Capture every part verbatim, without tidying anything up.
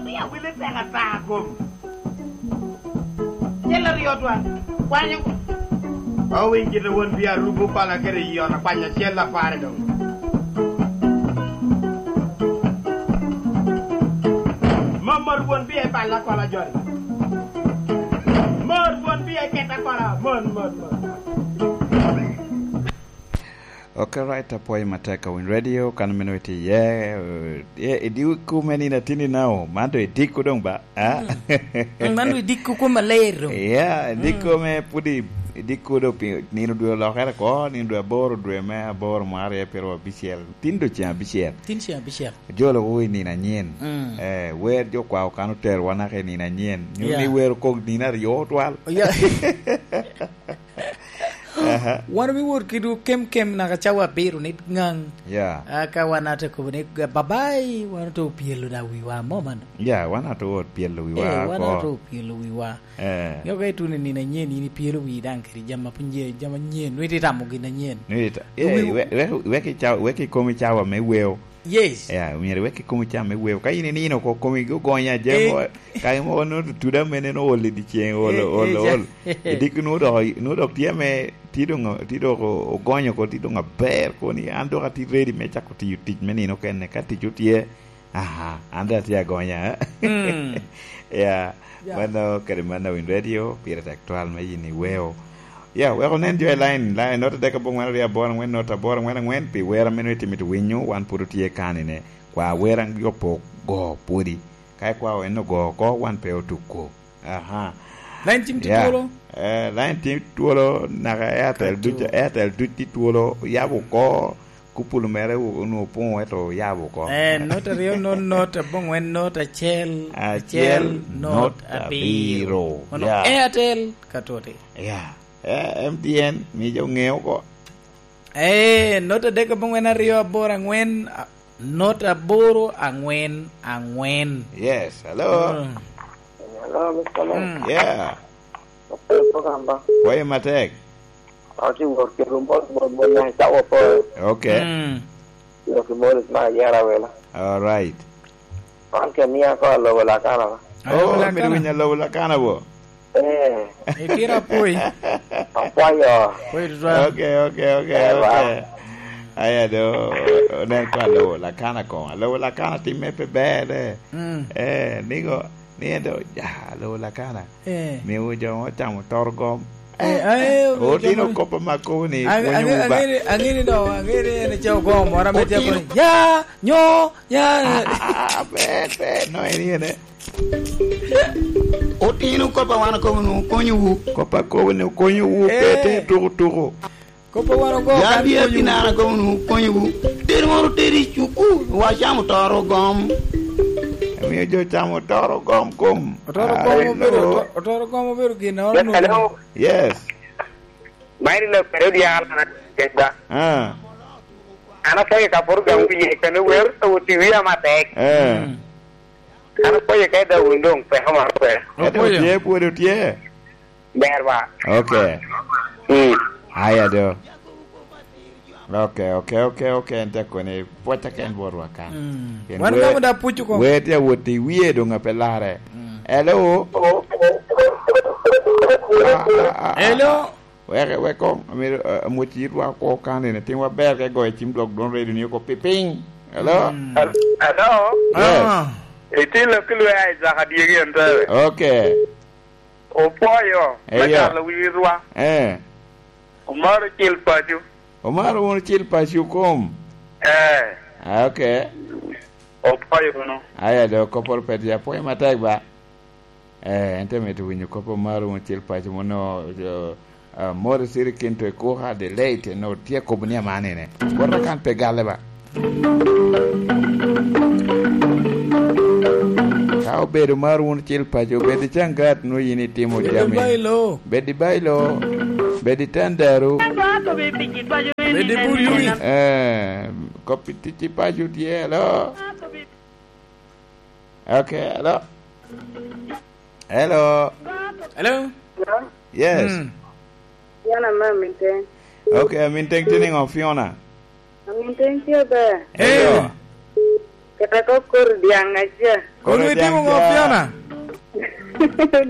Ni awili tek ata kom. Cel aryo twan. Kwanyo. Owiny kite won bi arubo pala kede yona kwanyo cel apare dong. Mamar won bi e pala kola jori. Mar won bi e keta kola. Mon, mon, mon. Ok, right, apwoyo matek ka Winy Radio, kan meno itye iye, eh, eh, i dikku me nino atini nao, man doŋ i dikku doŋ ba, ah? Mm. Mm, man doŋ i dikku kom maler doŋ. Yeah, i dikku me pwod i, i dikku doŋ pi-, nino dwe olokere ko, nino dwe aboro, dwe me aboro, mwaka aryo pyeraryo abicel. Tin doŋ ceŋ abicel. Tin ceŋ abicel. Jolo wo i nino anyen. Mm. Eh, wer jo kwao kan oterowa naka i nino anyen. Nyo ni wer okok nino aryo otwal. Yeah. Aha. Wan obiwot kedwu kemkem naka cawa abiro ni ŋaŋ. Yeah. Aka wan ate kobo ni, "Babai, wan oto opyelo da wiwa mo mano." Yeah, wan ate wot pyelo wiwa. Eh, wan ate opyelo wiwa. Eh. Nyo ka ituno i nino anyen, in ipyelo wii daŋ kede jami a piny je, jami anyen, nwe itye tamo gin anyen. Nwe ita-, eh, we, we, wek ica-, wek ikomi cawa me weo. Yes. Ya, myero iwek ikomi cam me weo. Ka in inino oko, komi ogonya, je mo, ka imo no tuda mene no ol i dyeceŋ, ol, eh, ol, eh, ja-, ol. I dikki nu dok, nu dok tye me, ti dong, ti dok o-, ogonyo oko, ti dong aber, koni an dok ati ready me cako tiyo tic me nino kene. Ka tic otye, aha, an dok atye agonya, eh? Mm. Ya, ya. Mano kede mano Win Radio, pire tek twal me yin iweo. Ya, wek onen jo i line, line, not adek aboŋwen aryo aboro aŋwen, not aboro aŋwen aŋwen, pi wer a meno itimo iti winyo, wan pwod otye kanine. Kwa wer a yopo go pwodi. Ka ikwao en ogo oko, wan pe otuko. Aha. Line cim tye twolo? Eh, line tye twolo, naka Airtel duc, Airtel duc tye twolo, yabo oko, kupulu mere onwoŋo opoŋo, ento oyabo oko. Eh, not aryo, not, not aboŋwen, not acel, acel, acel, not, not abiro. Abiro. Mano Airtel ka toti. Ya. Eh, M T N, mi jo ŋe oko. Eh, not adek aboŋwen aryo aboro aŋwen, a, not aboro aŋwen aŋwen. Yes, hello. Mm. Hello, Mister Lou. Mm. Yeah. Ape program ba? Kwayo matek. Ati wor ke rumo, mo, mo, mo, cawo po. Okay. Mm. Lo ki mo, ma yara wela. All right. Wan ke mia ko alobo lakana ba? Oh, alobo lakana. Mito winyo alobo lakana bo? Eh. Itira apoi. Apwoyo. Apoi tutwal. Okay, okay, okay, eh, okay. Aya do, onen ko alobo lakana ko. Alobo lakana timme pe ber, eh. Mm. Eh, nigo, ni en do, ja, alobo lakana. Eh. Miwu jo mo camo toro gom. Eh, eh, otino kop ma kobo ni, ang-, pwonyo ang-, wuba. Angeni, angeni do, angeni en ceo gom, ora me ceo ni, ya, nyo, ya. Ah, ah, ah, ah, ber, ber, no, en, en, eh. Otino kop a wan akobo nu konyowu. Kop a kobo ni konyowu, eh, pe te tuku tuku. Kop a wan ogo ya kan bia konyowu. Pinara kobo nu konyowu. Teri moro teri cuku, wa camo toro gom. Emiyo jo camo toro gom kom. Otoro gom obedo, oto-, otoro gom obedo gin na. Yes, hello. Yes. Mairi lo kare odi ala na kenda. Ah. Ana pwonyo ka pwod gamo wiye kene wer, to oti wiya matek. Eh. Mm. Ana pwonyo ka i Daudi doŋ peko mar kwe. Ento otye, pwod otye. Ber ba. Okay. Mm. Aya do. Okay, okay, okay, okay, en te koni pwocca ken botwa kan. Mm. Wan wer, gamo da puc oko. Wer tye awot i wiye doŋ ape larre. Mm. Hello? Ah, ah, ah, ah. Hello? Wek, wek koŋ, amito, eh, amwoc yitwa oko kan, en itimwa ber ka igoyo cim dwok dwon redio ni oko pipiny. Hello? Mm. Hel-, hello? Yes. Ah. Itye lok ki lwea Isaac Adyegi en tebe. Okay. Opwoyo, me, eyo, calo wi rwa. Eh. Omaro cil paco. Omaro wunu cil paco kom? Eh. Ah, okay. Opwoyo wunu. Aya, do koporo pet ya, apwoyo matek ba. Eh, en te mito winyo kop omaro wun cil paco mono, jo, ah, Morris Irikinto i Kuka, the late, no, tye kobo ni amanine. Bota kan pe galle ba. Ka obedo mar wun cil paco, bed i Cangat, nwo yin itimo jami. Bed i Bailo. Bed i Bailo. Bed i Tandaru. Bed i Bururi. Eh, kop i tic i paco tye, hello? Okay, hello. Hello. Hello? Yes. Mm. Fiona me Aminteng. Okay, Aminteng tye niŋo, Fiona? Aminteng tye ber. Eyo. Eyo. Kata ka okoro dyaŋ aca. Kono itimo ŋo, Fiona?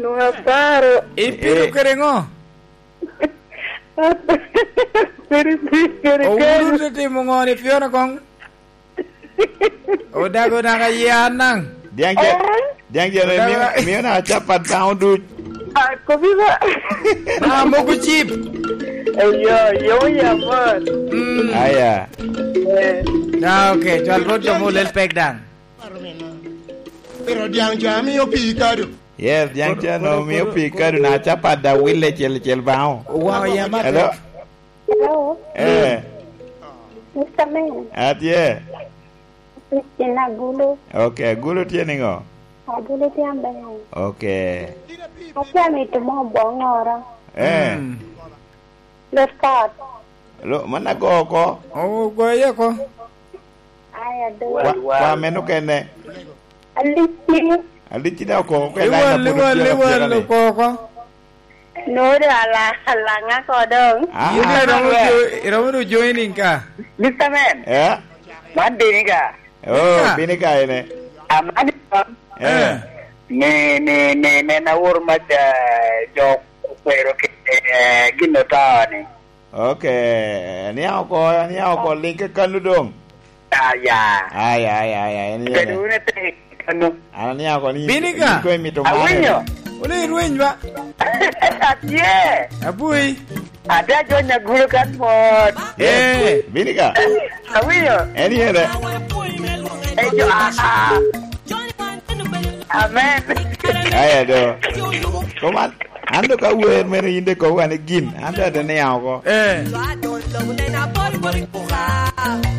Nwoŋo aparo. Ipito kede ŋo? Kede, kede, kede. Owudo te timo ŋo ni Fiona koŋ? Odago naka yia naŋ. Diaŋ ce, diaŋ ce ne mio, mio na capat daŋ oduc. Ah, kobi ba. Ah, mogo chip. Eyo, yo, ya, man. Mm. Aya. Eh. Ah, okay. Cwal rot jo mo lel pek daŋ. Pero diaŋ ca mio pii kado. Yes, diaŋ ca no mio pii kado na capat da wille cel cel baŋo. Wow, ya, ma. Hello? Hello? Eh. Mister Man. Atye. Christine Agulu. Okay, Agulu tye niŋo? Agulu tye aber. Okay. Atye amito mo boŋoro. Eh. Mm. Left card. Lo, man ago oko. Ogoye oko. Aya, do. Kwa, kwa meno kene. Alici. Alici da oko, oko. Iwal, iwal, iwal oko. Nori ala, alanga ko dong. Ah, in ah. Iromo jo, iromo do joining ka. Mister Man. Eh? Man Binika. Oh, Binika. Binika ene. Amani. Eh. Eh. Ni, ni, ni, ni na wor ma ja, jo kwero ke, eh, gin oto ni. Okay, aniaŋ oko, aniaŋ oko, lik kanu doŋ. Aya. Aya, aya, aya, en yene. Bedo wunu ate kanu. An aniaŋ oko ni, Binika. Ni ko imito mare. Awinyo. Wule irweny ba? Atye. Abui. Ate ajonya gulu kan mot. Yes, eh. Binika. Awinyo. En yene. Ejo, aha. Amen. Aya do. Koman. An do ka wer mene in de kobo ane gin, an do ate niaŋ oko. Eh.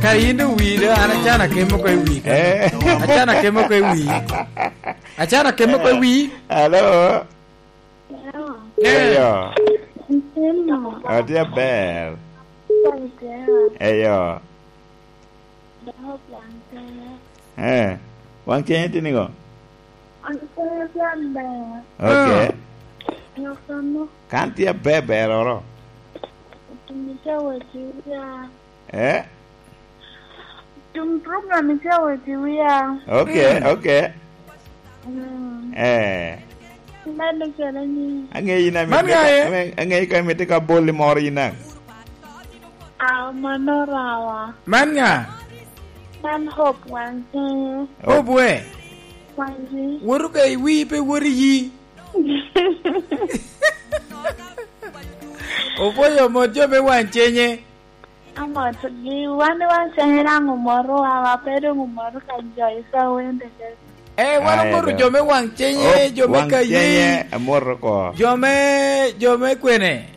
Kara in do wi do, an acana kemo oko i wi. Eh. Acana kemo oko i wi. Acana kemo oko i wi. Hello. Hello. Eh. Eyo. Ntino. Atye aber. Eyo. Dok waŋ cene. Eh, waŋ cene tye niŋo? Waŋ cene tye aber. Okay. Ah. Nyo kono. Kan tye aber beroro. Otum ite wot i wia. Eh? Otum program ite wot i wia. Okay, mm, okay. Mm. Eh. Medo calo ni. Aŋeyi na. Man mito ka, ŋaye? Aŋe-, aŋeyi ka imito ka boli moro in daŋ. Ah, mano rawa. Man ŋa? Man Hope Wanji. Hope we? Wanji. Woto ka i wi, pe woto i yi. Opwoyo mot jo me Wancenye. Amotgi, wan i Wancenye daŋ omotowa, wa pe doŋ omoto ka jo i Sawende keken. Eh, wan omoto jo me Wancenye, jo me Kayi. Wancenye, amoto oko. Jo me, jo me kwene?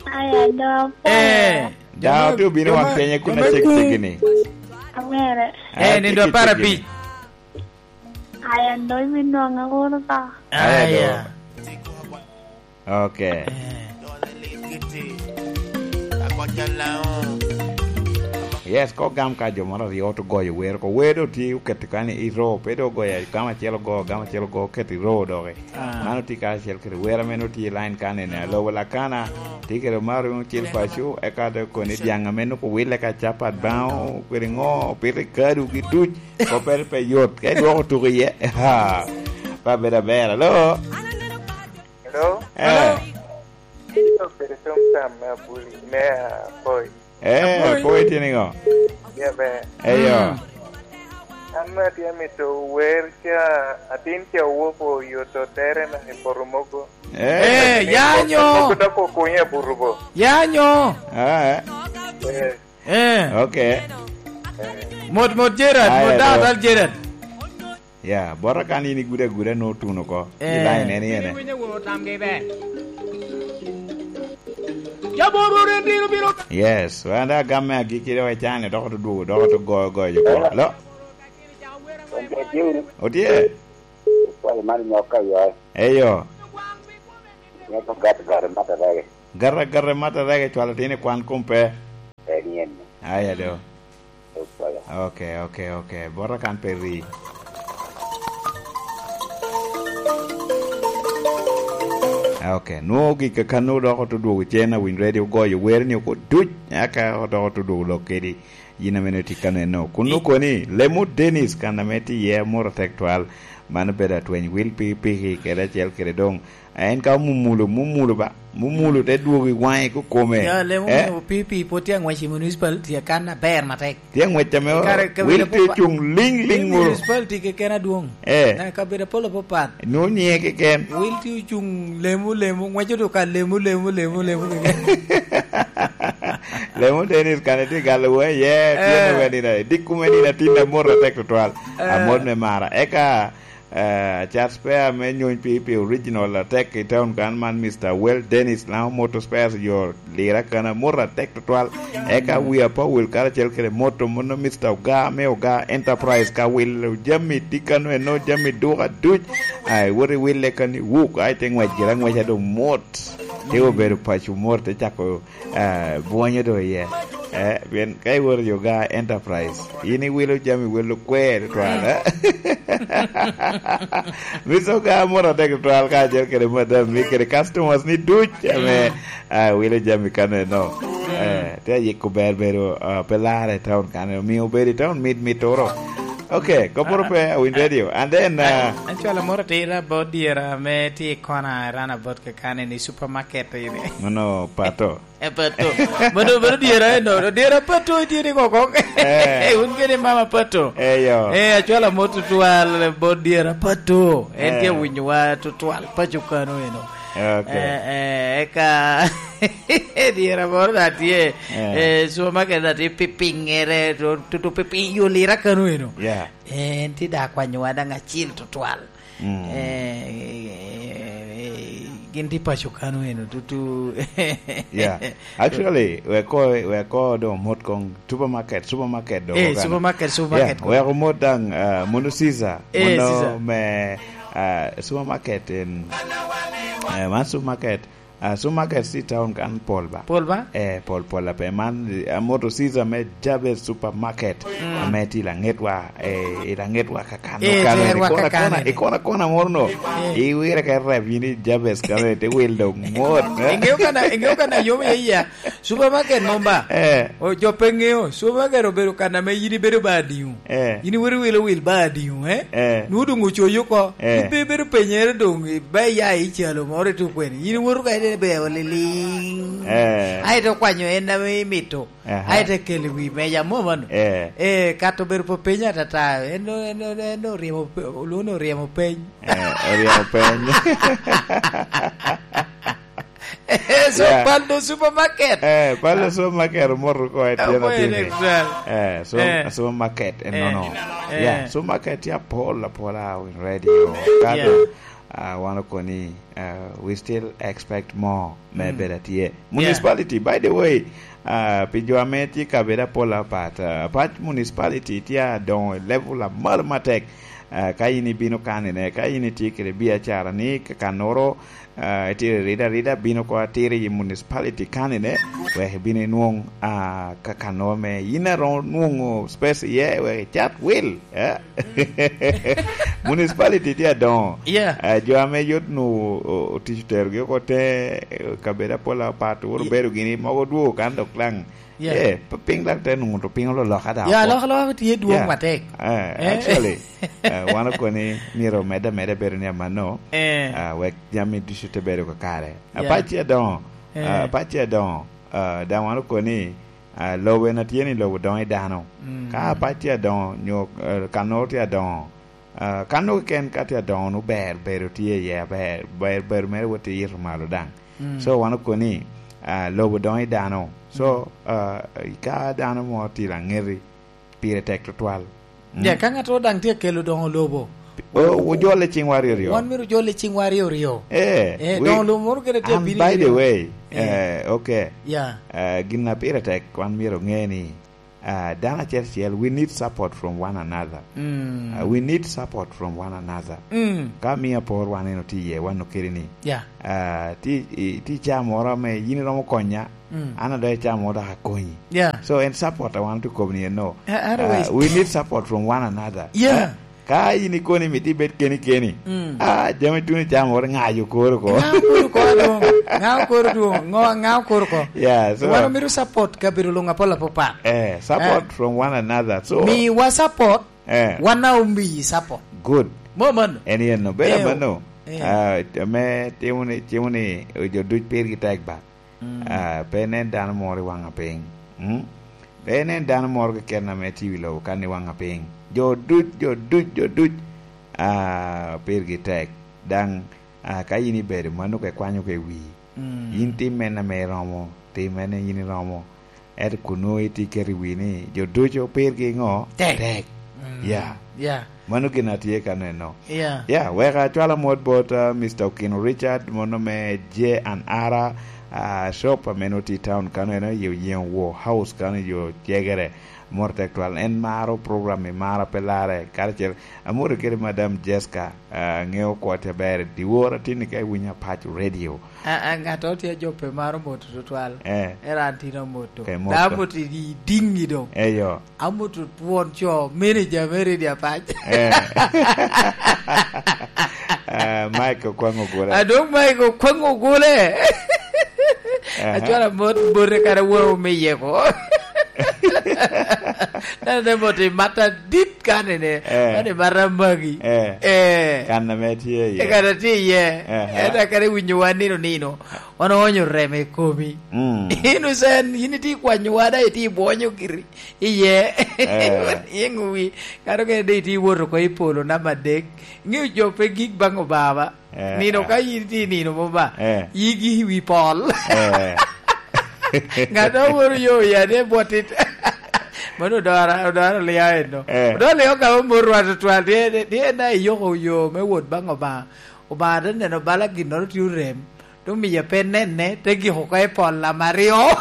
Aya, do, eh, daŋ otye obino Wancenye kun acek cegini. Amere. Eh, nindo apar abic. Aya, do, ibinwoŋa wunu ka. Aya. Okay. Eh. Yes, ko gam ka jo moro aryo oto goyo wer oko. Wer do tye oketo kany i ro, pe do ogoyo gam acel ogo, gam acel ogo, oketo i ro doki. Ah. Mano tye karacel kede wer ame nongo tye i line kan ene, alobo lakana, tye kede Mario Cil Paco, eka te koni dyaŋ ame nongo wille ka capat baŋo, kede ŋo, pito i kadu gi duc, koppere pe yot, ka idwoko tuko iye, ha, pe abedo aber. Alo? Hello? Eh. Hello? Ito kede tom tam me abuli, me apoi. Eh, Apoi. Apoi tye niŋo? Tye ber. Eyo. Mm. An atye amito wer ca, atin ca owoko oyoto tere na i poto mogo. Eh. Eh, yanyo. Mogo dok okunye aburubo. Yanyo. Ah, eh. Eh. Eh. Okay. Eh. Mot, mot, Gerard, aya, mot, dano, dano, Gerard. Ya, bota kan in igudo aguda nwoŋo otuno oko. Eh. I line en, en, en. Yes, wan da gam me agikki dok icane, dok odwogo, dok oto goyo, goyo jo kwo. Alo? Otye? Kwayo man nyok ka yo. Eyo. Nyok gat gat mata rege. Gat gat mata rege, cwalo tin i kwan kom pe. En yen. Aya do. Okay, okay, okay. Bota kan pe ri. Ok, nwoŋo gik a kan odoko te dwogo cen, awinyo radio ogoyo wer ni oko duc, aka odoko te dwogo lok kedi. Yin ame nwoŋo itye ka neno. Kun nwoŋo koni, Lemo Dennis, kan ame tye iye amoro atek twal, mano bedo atweny wil pikipiki kede acel kede doŋ. En ka omumulo, mumulo ba, mumulo te dwogo i waŋe kikome. Ya, Lemo Eh? Mio P P pwod tye aŋwec i municipality akan aber matek. Tye aŋwec ame Kare, kare, wil tye apupa- cuŋ liŋ liŋ Mio moro. Municipality keken adwoŋ. Eh. Na kabedo apol apapat. Nwoŋo nyiŋe keken. Wil tye ocuŋ lemo, lemo, ŋweco do ka lemo, lemo, lemo, lemo keken. Lemo Dennis kan itye galo wa iye, tye Eh. Nwoŋo nina, dikku me nina tin amot atek tutwal. Eh. Amot me mara. Eka, eh, cat spare me nyony pi, pi original atek i town kan man, Mister Well Dennis, Lango Motor Spares, yo lira kan amot atek tutwal. Eka wi apa wil karacel kede moto mono Mister Oga me Oga Enterprise ka wilo jami tika no eno jami duka duc. Ai, wot iwille kan i wuk, ai te ngwec gira ngwec ado mot. Te obedo paco mot, te cako, eh, bwonyo do iye. Eh, pien ka iwoto i Oga Enterprise, in iwilo jami welo kwer twal, eh? Mister Oga mot atek twal ka acel kede madam ni kede customers ni duc, ame, ah, wilo jami kan eno. Eh, te ayiko ber bedo, ah, pe lara i town kan, omio bedo i town mit mit oro. Ok, koporo pe, I win radio. And then, uh, An cwalo moro atira bot dyera ame tye i kona, ran abot kakane ni supermarket ini. Mano pato. E pato. Mano, mano dyera eno, dyera pato itye ni koko. Eh. Eh, un kede mama pato. Eh, yo. Eh, acwalo mot tutwal bot dyera pato. En Eh. Tye winyowa tutwal paco kano eno. Ok. Eh, eh, eka dyera moro da tye. Eh. Eh, supermarket da tye pipiŋere, to, to, to pipiŋ yo lira kano eno. Yeah. Eh, en tye da kwanyowa daŋ acil tutwal. Mm. Eh, eh, eh, gin tye paco kano eno tutu. Yeah. Actually, wek ko, wek ko do mot kong supermarket, supermarket do Eh, kan. Supermarket, supermarket Yeah, ko. Wek omot daŋ, uh, mono Caesar, Eh, mono Caesar. Me, uh, supermarket in, uh, man supermarket, uh, supermarket si town kan pol ba? Pol ba? Eh, pol, pol ape. Man, uh, moto Caesar me Jabez Supermarket, Mm. Ame ti laŋetwa, eh, i laŋetwa kakano, Eh, kano, terwa i kona, kakano kona, ene. I kona, kona moro no. Eh. Iwire ka rep yin i Jabez kano, te wil dok mot, eh? Ingeyo kana, ingeyo kana yom ya iya. Supermarket mom ba? Eh. O, jo pe ŋeo. Supermarket obedo kan ame yin ibedo ba adiŋo? Eh. Yin iwero wilo wil ba adiŋo, eh? Eh. Nwoŋo doŋ ocoyo oko. Eh. In pe ibedo penyere doŋ, i-, ba iya i calo moro i tuk kwene. Yin iwoto ka ine be oliliŋ. Eh. Aye to kwanyo en ame imito. Aha. Aye to kelo i wi meja mo mano. Eh. Eh, kato bedo pe peny atata. En, en, en, en oryemo pe-, olwoŋo ni oryemo peny. Eh, oryemo peny. Eh, so Yeah. Pando supermarket. Eh, Pando supermarket omoto oko i tyen Omoto atini. Ene, well. Eh, so, Eh. Supermarket en Eh. Nono. Eh. Yeah, supermarket tye apol, apol a win radio. Kado, Yeah. Ah, wan okoni, ah, we still expect more me Mm. bedo atye. Yeah. Municipality, by the way, ah, pi jo ame tye kabedo apol apat, ah, apat municipality tye adoŋo i level amalo matek. Ah, ka in ibino kanine, ka in itye kede biacara ni ka kannoro, ah, itye rida rida, bino ko atiri i municipality kanine, wek ibino inwoŋ, ah, ka kannoro me in aromo nwoŋo space iye, wek icat wil, eh? Municipality tye adoŋo. Yeah. Eh, jo ame yot nu o-, otic oterogi oko te, eh, kabedo apol apat, wot Yeah. Obedo gini, mogo dwogo kan dok laŋ. Yeah. Eh, p-, piny dok te nuŋo to piny ololoka da Yeah, oko. Alokaloka tye dwong Yeah. Matek. Eh, Eh. Actually, eh, wan okoni myero omedde ameda bedo ni amanno, Eh. Ah, wek jami ducu te bedo kakare. Yeah. Apac tye adoŋo. Eh. Ah, apac tye adoŋo. Ah, daŋ wan okoni, ah, lobo en atye ni lobo doŋo i dano. Mm. Ka apac tye adoŋo, nyo, eh, kannoro tye adoŋo, ah, kanno keken ka tye adoŋo, nu ber, bedo tye iye aber, ber, ber mere wot i ito malo daŋ. Mm. So, wan okoni, ah, lobo doŋo i dano. So, Mm. Ah, ka dano mo tye laŋeti, pire tek tutwal. Mm. Ja, ka ŋattoro daŋ tye kelo doŋo lobo. O, ojole ciŋwa aryo aryo. Wan myero ojole ciŋwa aryo aryo. Eh, Eh, wi-, doŋo lobo moro kene tye and abino by the aryo. Way, Eh. Eh, okay. Yeah. Eh, gin a pire tek, wan myero oŋe ni, ah, dano acel acel, we need support from one another. Mm. Ah, we need support from one another. Mm. Ka miyo apor wan en otye iye, wan okeli ni, Yeah. Ah, ti, i, ti ca moro ame yin iromo konya, Mm. An adok icamo dok akonyi. Yeah. So, en support a wan otukobo ni eno. A-, otherwise Uh, we need support from one another. Yeah. Eh? Ka in ikoni mito ibed keni keni, mm, ah, jami tuno icamo wot ŋayo koro ko. Ŋa okoro ko doŋ? Ŋa okoro doŋ? Ŋo, ŋa okoro ko? Yeah, so wan omito support kabedo luŋ apol apopa. Eh, support, eh, from one another. So miwa support, eh, wan a omiyi support. Good. Mo mano. En yen no. Bedo, eh, mano. Eh. Ah, me timo ni, timo ni jo duc pirgi tek ba. Mm. Ah, pe inen dano moro i waŋa piny. Mm? Pe inen dano moro keken ame tye i wi lobo kan i waŋa piny. Jo duc, jo duc, jo duc, ah, pirgi tek. Daŋ, ah, ka in ibedo mano ka ikwanyo ka i wii, mm, in tim mene ame iromo, tim mene in iromo. Ento kun nwoŋo itye iketo i wii ni jo ducu pirgi ŋo? Tek. Tek. Mm. Ya. Ya. Mano gin a tye ka neno. Ya. Ya, wek acwal amot bot, ah, Mister Okino Richard, mono me J and R, ah, shop ame nwoŋo tye i town kano, en aye Oyengo War House kano i yo Cegere. Mot tek twal. En maro program-mi, mara pe larre. Karacel, amoti kede Madam Jessica, ah, aŋeo kwo tek aber. Dyewor atin-ni ka iwinyo Apac Radio. A, a, ŋat a tye ajope maro moto tutwal. Eh. Era an tin amoto. Ke moto. Da amoto i diŋŋi doŋ. Eyo. Amoto twon co, manager me Radio Apac. Eh. Eh, Mike Okwaŋ Ogole. A doŋ Mike Okwaŋ Ogole. Aha. Acwalo amot bote kara woro me yeko. Nene moto i mata dit. Kanene, eh, mani mara magi. Eh. Eh. Kan ame tye iye. Eh, kan atye iye. Aha. Ento akare winyo wan nino nino. Wan oonyo remo i komi. Mm. In Hussein, in itye kwanyo wa, da itye bwonyo giri iye. Eh. Yeŋo wi. Kato kene de itye woto oko i polo namba adek. Ŋeo jo pe gik baŋ Obama. Eh, nino eh. Ka in tye i nino mo ba, eh, yigi i wi pol. Eh. Ŋat a woro yo ya ne bwot it. Mano odora, odora lia eno. Eh. Odora lia ka mo rwa tutwal, die, die, die na iyoko yo me wot baŋ Obama. Obama te neno bala ginnoro tye orem. Te omiye pe nene, te giko oko i pol namba aryo.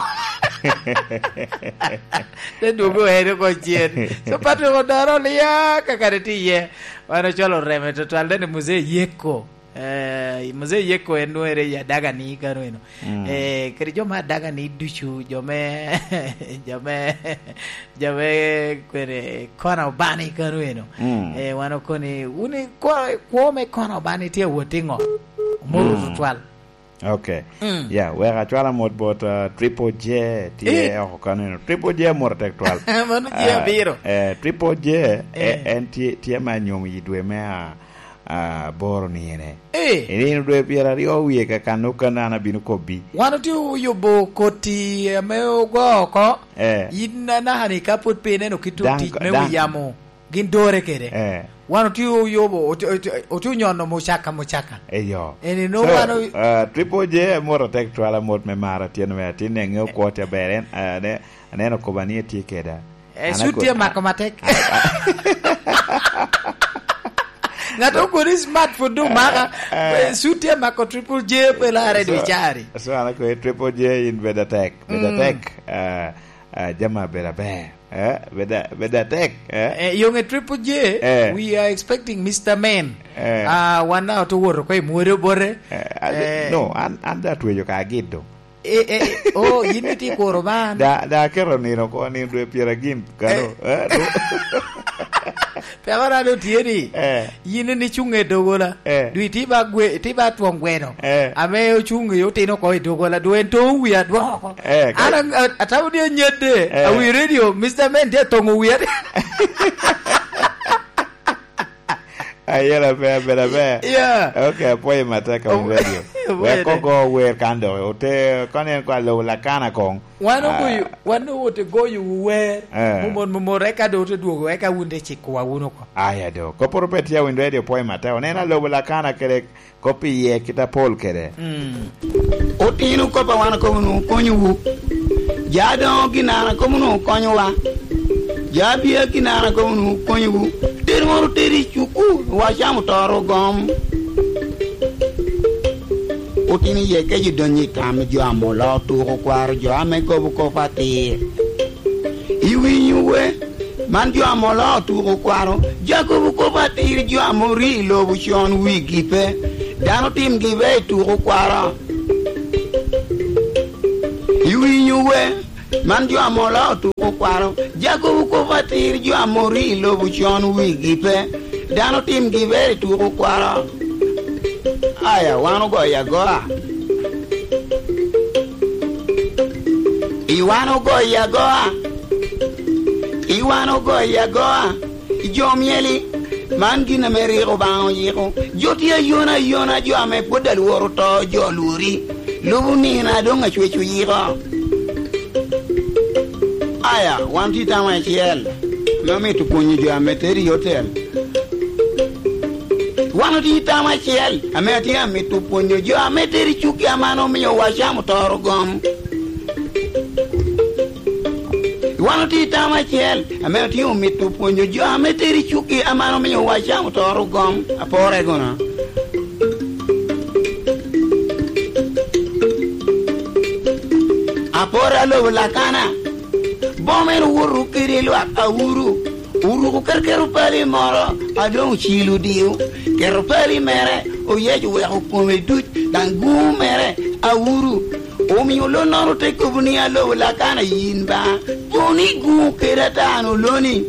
Te dwogo eno oko cen. So Patrick odora lia ka kare tye iye. Wan ocwalo reme tutwal, dene Muzee Yeko. Eh, Muzee Yeko en nwoŋere i Adagani kano eno. Mm. Eh, kede jo me Adagani ducu, jo me, jo me, jo me kwene kona Obani kano eno. Mm. Eh, wan okoni, wun i kwo, kwo me kona Obani tye awot i ŋo? Omoro, mm, tutwal. Ok. Mm. Ya, wek acwal amot bot, uh, Triple J, tye, eh, oko kano eno. Triple J amoro tek twal. Mano J abiro. Ah, eh, Triple J, eh, eh, en tye, tye me anyom i dwe me a-, aboro ni ene. Eh. I nino dwe pyeraryo wie kakan okene an abino kobbi. Wan otye oyubo koti ame ogo oko. Eh. In anaka-ni ka pwod pe ineno kit otic me wi yamo, gin dore kede. Eh. Wan otye oyubo, otye, otye, otye onyono mucaka, mucaka. Eyo. Eni nwoŋo wan o- ah, Triple J amot atek twal amot me mara tyen me atin, ne ŋeo kwo tye aber, en, ah, ne, aneno kobani etye keda. Eh, an cut ako-, tye mako matek. Ŋat okoni smartphone doŋ maka. Eh. Eh, cut tye mako Triple J pe larre dwe cari. So, an ako Triple J in bed atek, bed atek. Mm. Ah, ah, jami bedo aber. Eh, bed a-, bed atek, eh. Eh, yoŋe Triple J, eh, we are expecting Mister Man. Eh. Ah, wan na oto woto ko i mwode bote. Eh, ade-, eh, no, an, an da tweyo ka agiddo. Eh, eh, eh, oh, yin itye kuro ban. Da, da aketo nino ko, nino dwe pyeragin kano. Eh. Eh, no. Pe awa rado tye ni, eh, yin ni cuŋ e dogola. Eh. Dwi ti ba gwe-, ti ba twon gweno. Eh. Ame ocuŋ i otino ko i dogola. Dwe en to wi adwoko ko. Eh, ka- An a-, a-, atamo ni anyadde. Eh. Awi radio, Mister Man tye atoŋo wi ade. Ayela pe, abela pe. Yeah. Ok, apwoyo matek, Awiny Radio. Apwoyo. Wek ogo wer kan dok. Ote, kono en kwa lobo lakana kong. Wan, ah, ogoyo, wan owote goyo wu wer. Eh. Momot, momot, eka do ote dwogo, eka wun te cikowa wun oko. Aya do. Koporo pe tye Awiny Radio, pwoyo matek. Oneno alobo lakana kede kop iye kit apol kede. Mm. Otino kop a wan akobo nu konyowu. Ja doŋo gin an akobo nu konyowa. Ja bia gin an akobo nu konyowu. Tero moro tero i cuku, wacamo toro gom. Otino iye kec odonyo i tam jo ame oloo tuko kwaro jo ame kobo kop atir. Iwinyo we, man jo ame oloo tuko kwaro, Jakobo kop atir jo ame orio i lobo con wigi pe, dano timgi be i tuko kwaro. Iwinyo we, man jo ame oloo tuko kwaro, Jakobo kop atir jo ame orio i lobo con wigi pe, Dano timgi ber i tuko kwaro. Aya, wan ogoyo agoa. I wan ogoyo agoa. I wan ogoyo agoa. I jo myeli, man gin ame rik Obaŋa oyiko. Jo tye ayona ayona, jo ame pwod alworo to, jo lwori. Lubo nino a doŋ acwec oyiko. Aya, wan tye i tam acel ame omito pwonyo jo ame tero i otel. Wan otye i tam acel ame atye amito pwonyo jo ame tero i cukki aman omio wacamo toro gom. Wan otye i tam acel ame otye omito pwonyo jo ame tero i cukki aman omio wacamo toro gom. Apore kono. Aporo alobo Lakana, boma en owoto kede lwak Auru, oruko kerker opali moro, a doŋ ocilo odio, keto opali mere, oyeco oweko kome duc, daŋ guŋo mere Auru. Omio lonnono te kobo ni, "Alobo Lakana, yin ba, kono iguŋo kede ata an oloni."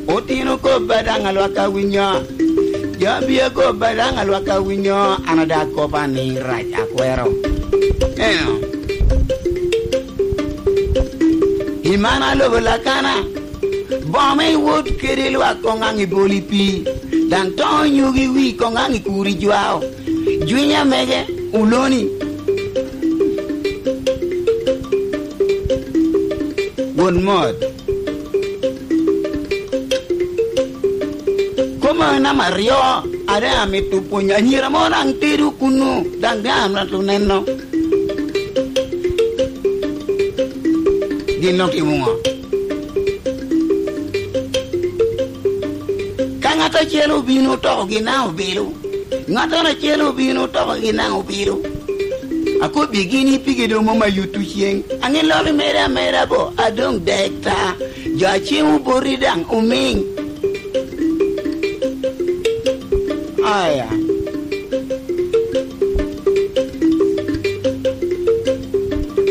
Otino kobba daŋ alwak awinyo, jo a bia kobba daŋ alwak awinyo, an ada kop anirac akwero. Eno. I man alobo Lakana, boma iwot kede lwak koŋ aŋ i boli pii, daŋ to onyogi wi koŋ aŋ i kuri jwao. Jwinya mege, oloni. Won mot. Koma namba aryo, ade amito pwonyo anyira mo daŋ tedo kunu, daŋ daŋ amito neno. Gin otimo ŋo? Ka ŋat acel obino toko gin daŋ obilo, ŋattoro acel obino toko gin daŋ obilo. Akobbigi ni pigi doŋ mom ayutto ceŋ. Aŋe lok imedde ameda bo, adoŋ dek ta. Jo a ceŋ oboti daŋ omiŋ. Aya.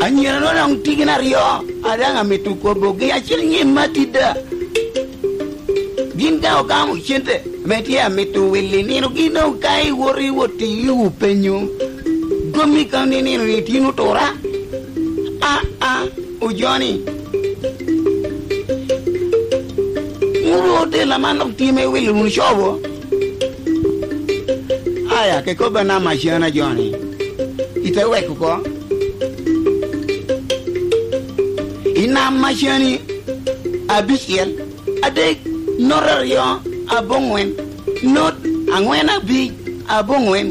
Anyirano daŋ tye gin aryo, a daŋ amito kobogi, acel nyim Matida. Gin daŋ ogamo cente ame tye amito wili nino, gin doŋ ka iwoto iwot i wu penyo, gommi ka ni nino ni tin otura. A, a, ojoni. Ŋuru otel aman dok tye me wilo wunu cobo. Aya, ke kobba nam acana joni. Ite weko oko. I nam acani abicel. Adek, not aryo, aboŋwen, not aŋwen abic, aboŋwen.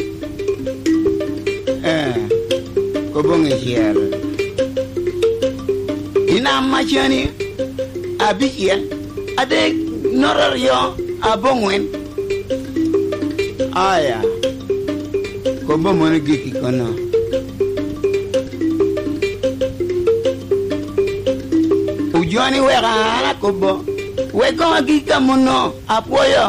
Eh, koboŋ icel. I nam acani, abicel, adek, not aryo, aboŋwen. Aya, kobo mono gik i kono. Ojoni weka an akobo, wek koŋ agik ka muno, apwoyo.